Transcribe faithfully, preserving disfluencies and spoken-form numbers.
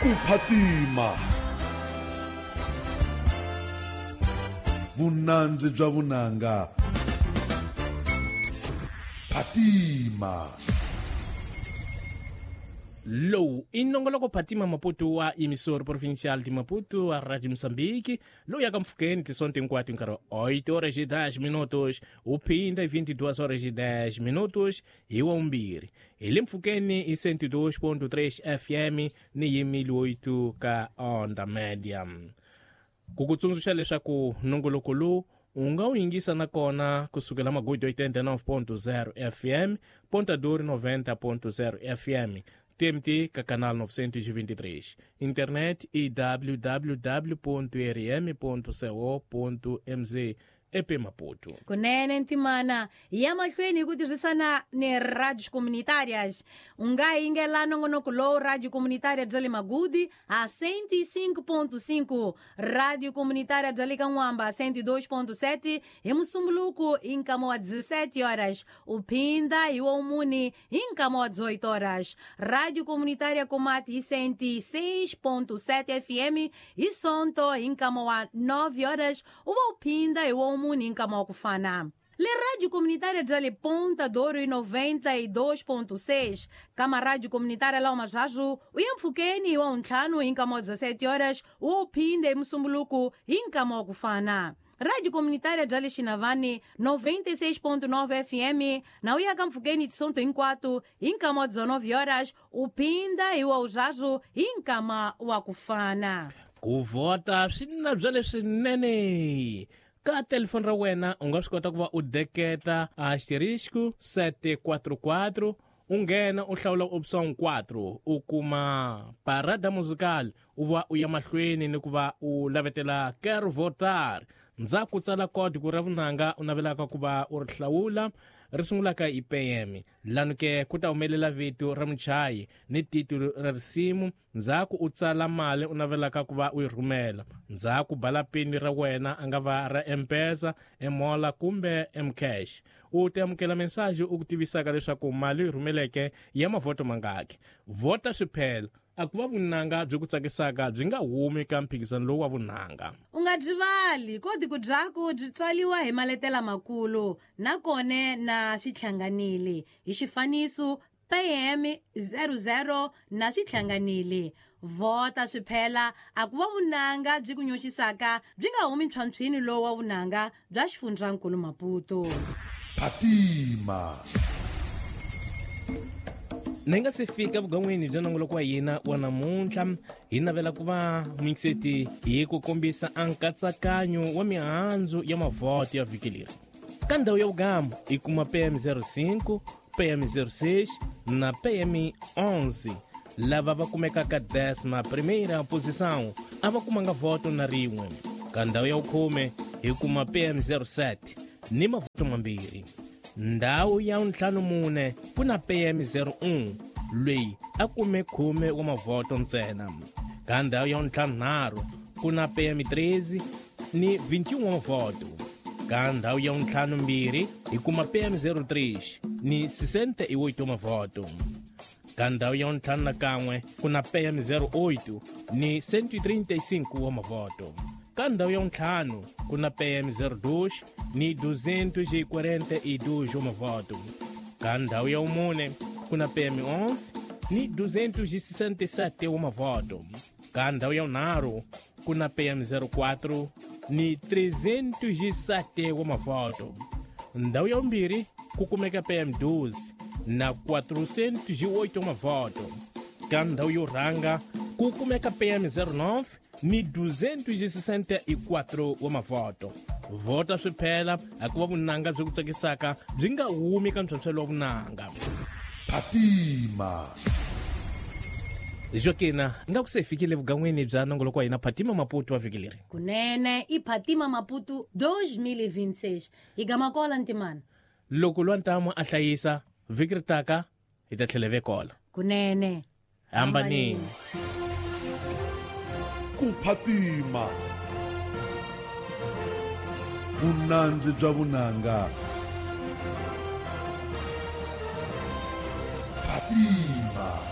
Ku phatima. Vunandzi bya vunanga. Phatima. Lowu i nongoloko Phatima Maputo wa emissora provincial de Maputo a Rádio Moçambique, lowu yaka mpfhukeni tisonto hinkwato hi nkarhi wa oito horas e dez minutos u phinda vinte e duas horas e dez minutos hi wa vumbirhi hi le mpfhukeni hi cento e dois ponto três F M ni hi mil oito ka onda média. Ku ku tsundzuxa leswaku nongoloko lowu u nga wu yingisa nakona kusukela Magudu oitenta e nove ponto zero F M, Ponta Dor noventa ponto zero F M, T M T ka canal novecentos e vinte e três, internet e w w w ponto r m ponto co ponto m z E P Maputo. Kunene ntimana ya mahlweni hi ku tirhisana ni radios comunitárias. U nga yingela nongonoko lowu Radio Comunitária bya le Magudi a cento e cinco ponto cinco, Radio Comunitária bya le Kan'wamba cento e dois ponto sete hi Musumbuluku hi nkama wa dezessete horas, u phinda hi wa mune hi nkama wa dezoito horas. Radio Comunitária Komati hi cento e seis ponto sete F M hi Sonto hi nkama wa nove horas, u va u phinda hi wa mune hi nkama wa ku fana. Le Rádio Comunitária bya le Ponta Douro e noventa e dois ponto seis, kama Rádio Comunitária lá Majajo, u ya mpfhukeni wa ntlhanu hi nkama wa dezessete horas, u phinde hi Musumbuluku hi nkama wa ku fana. Rádio Comunitária bya le Xinavani noventa e seis ponto nove F M, na u ya ka mpfhukeni tisonto hinkwato hi nkama wa dezenove horas, u phinda hi wa Ujajo hi nkama wa ku fana. Ku vhota swi na bya leswinene. Ka telefoni ra wena u nga swi kota ku va u deketa asterisco sete quatro quatro, u nghena u hlawula option quatro, u kuma parada musical, u va u ya mahlweni ni ku va u lavetela quero votar. Ndzhaku tsala código ra vunanga u navelaka ku va u ri hlawula ri sungulaka hi P M. Lanu ke ku ta humelela vito ra muchayi ni titulu ra risimu, ndzhaku u tsala mali u navelaka ku va u yi rhumela, ndzhaku bala pini ra wena a nga va ra M-Pesa, M-Mola kumbe M-Cash. U ta amukela mensaji u ku tivisaka leswaku mali u yi rhumeleke ya mavhoto mangaki. Vhota swiphela a ku va vunanga byi ku tsakisaka byi nga humi ka mphikizano lowu wa vunanga. U nga byivali kodi ku byaku byi tswaliwa hi maletela makulu nakone na swihlanganile hi xifaniso P M zero zero na swihlanganile. Vhota swiphela a ku va vunanga byi ku nyoxisaka byi nga humi ntlhontlhwini lowu wa vunanga bya xifundzankulu Maputo. Phatima. Ni nga se fika vugan'wini bya nongoloko wa hina wa namuntlha, hi navela ku va mixeti hi ku kombisa a nkatsakanyo wa mihandzu ya mavhoto ya vhiki leri. Ka ndhawu ya vugambo hi kuma P M zero cinco, P M zero seis na P M onze. Lava va kumekaka décima primeira posição a va kumanga voto na rin'we. Ka ndhawu ya vukhume hi kuma P M zero sete ni mavhoto mambirhi. Ndhawu ya ntlhanu mune ku na P M zero um loyi a kume khume wa mavhoto ntsena. Ka ndhawu ya ntlhanu nharhu ku na P M treze ni vinte e um wa mavhoto. Ka ndhawu ya ntlhanu mbirhi hi kuma P M zero três ni sessenta e oito wa mavhoto. Ka ndhawu ya ntlhanu na kan'we ku na P M zero oito ni cento e trinta e cinco wa mavhoto. Ka ndhawu ya ntlhanu ku na P M zero dois ni duzentos e quarenta e dois wa mavhoto. Ka ndhawu ya mune ku na P M onze ni duzentos e sessenta e sete wa mavhoto. Ka ndhawu ya nharhu ku na P M zero quatro ni trezentos e sete wa mavhoto. Ndhawu ya vumbirhi ku kumeka P M doze na quatrocentos e oito wa mavhoto. Ka ndhawu yo rhanga ku kumeka P M zero nove ni duzentos e sessenta e quatro wa mavhoto. Vhota swiphela a ku va vunanga byi ku tsakisaka byi nga humi ka ntlhontlhelo wa vunanga. Phatima. Joaquina, nga ku se fikile vugan'wini bya nongoloko wa hina Phatima Maputo wa vhiki leri. Kunene i Phatima Maputo dois mil e vinte e seis. Hi gama kola ntimana. Loko lwa ntamu a hlayisa vhiki ri taka hi ta tlhela vekola. Kunene. Hambanini. Ku phatima. Vunandzi bya vunanga. Phatima.